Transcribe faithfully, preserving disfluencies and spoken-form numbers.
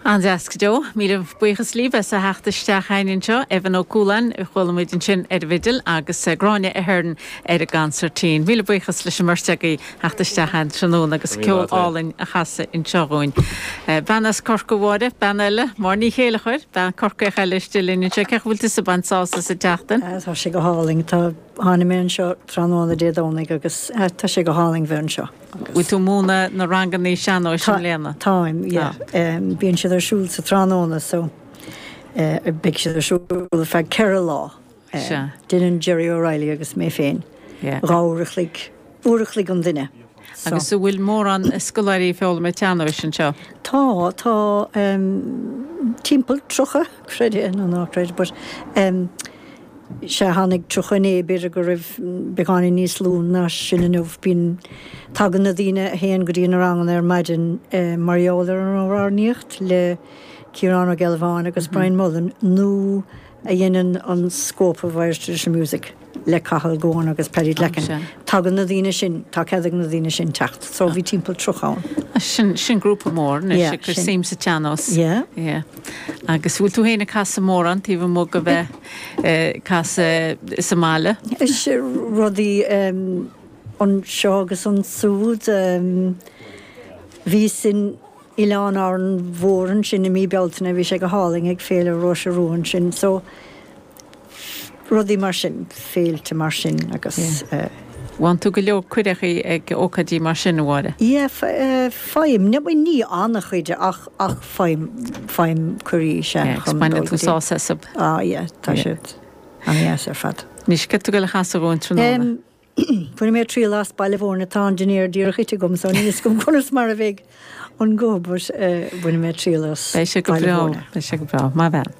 An-deas go deo, míle buíochas libh as a theacht isteach chugainn anseo, Evan Ó Cualáin a chuala muid ansin ar an bhfidil agus Gráinne Ahern ar an gconsairtín. Míle buíochas leis an mbeirt agaibh theacht isteach chugainn tráthnóna agus ceol álainn a chasadh anseo dhúinn. Bean as Corca Mháire, bean eile, Máire Ní Chéilleachair, bean Corcaíoch eile istigh linn anseo, cén chaoi a bhfuil tusa ag baint sásamh sa tseachtain? Tá sé go hálainn, tá tháinig mé anseo tráthnóna Dé Domhnaigh agus tá sé go hálainn bheith anseo. Bhfuil tú ag múineadh na ranganna sean-nóis i mbliana? Táim, yeah. Bíonn siad ar siúl sa tráthnóna so beidh siad ar siúl ar feadh ceithre lá. Déanann Jerry O'Reilly agus mé féin dhá uair a chloig, uair a chloig an duine. Agus an bhfuil mórán scoláirí ag foghlaim an tsean-nóis anseo? Tá, tá timpeall tríocha, creid é nó ná creid, but sea tháinig tríocha inné, b'fhéidir go raibh beagáinín níos lú ná sin inniu. Bíonn, tagann na daoine a théann go dtí na ranganna ar maidin mar gheall ar an amhránaíocht le Ciarán Ó Gealbháin agus Brian Mullen nó a dhéanann an Scope of Irish Traditional Music le Cathal Goan agus Paddy Glackin. Tagann na daoine sin, tá cead ag na daoine sin teacht. So bhí timpeall tríocha ann. Sin, sin grúpa mór anois ag cur suim sa tsean-nós. Yeah. Yeah. Agus bhfuil tú féin ag casadh mórán taobh amuigh de bheith ag casadh sa mbaile? Is rudaí anseo agus ansúd. Bhíos in Oileán Árainn Mhór ansin i mí Bealtaine, bhí sé go hálainn ag Féile Róise Rua ansin. So rudaí mar sin, féilte mar sin agus. Faigheann tú go leor cuireadh ag ócáidí mar sin, a Mháire? Yeah, faighim. Ní an-chuid ach ach faighim, faighim cuirí, sea. Yeah, agus baineann tú sásamh astu. Ah yeah, tá siad an-deas ar fad. Anois, céard tá tú ag goil a chasadh dhúinn tráthnóna? Bainfidh mé triail as Baile Mhúirne, tá an dinnéar díreach ite agam so níl fhios agam conas mar a bheidh an guth but bainfidh mé triail as Beidh sé go Baile breá, Mhúirne. beidh sé go breá, maith bhean.